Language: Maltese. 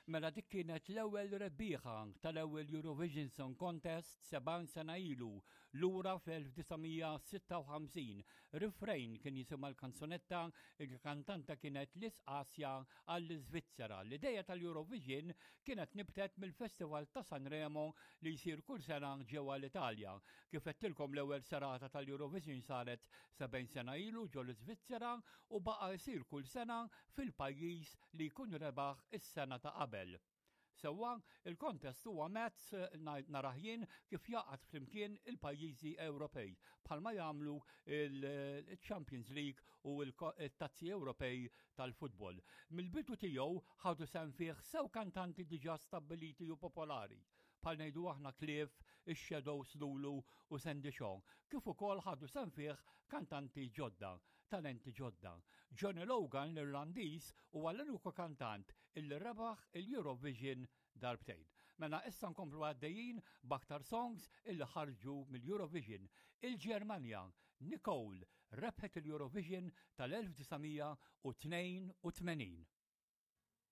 Mela dik kienet l-ewwel rebbieħa tal-ewwel Eurovision Song Contest 70 sena ilu, lura fl-1956. Refrain kien jisimha l-kanzunetta, il-kantanta kienet Lis Asja għall-Iżvizzera. L-ideja tal-Eurovision kienet nibtet mill-Festival ta' Sanremo li jsir kull sena ġewwa l-Italja. Kif għedtilkom l-ewwel serata tal-Eurovision saret 70 sena ilu ġo l-Iżvizzera u baqa' jsir kull sena fil-pajjiż li jkun rebaħ is-sena ta' qabel. Sewwa, il-kontest huwa mezz narah jien kif jgħaqqad flimkien il-pajjiżi Ewropej, bħalma jagħmlu il-Champions League u l-tazzi Ewropej tal-futbol. Mill-bidu tiegħu ħadu sehem fih sew kantanti diġà stabbiliti u popolari, bħal ngħidu aħna Cliff, ix-Shadows Lulu u Sandy Shaw, kif ukoll ħadu sehem fih kantanti ġodda, talenti ġodda. Johnny Logan l-Irlandiż huwa l-uniku kantant illi rebaħ il-Eurovision darbtejn. Mela issa nkomplu għaddejjin b'aktar songs illi ħarġu mill-Eurovision. Il-Ġermanja, Nicole, rebħet il-Eurovision tal-1982.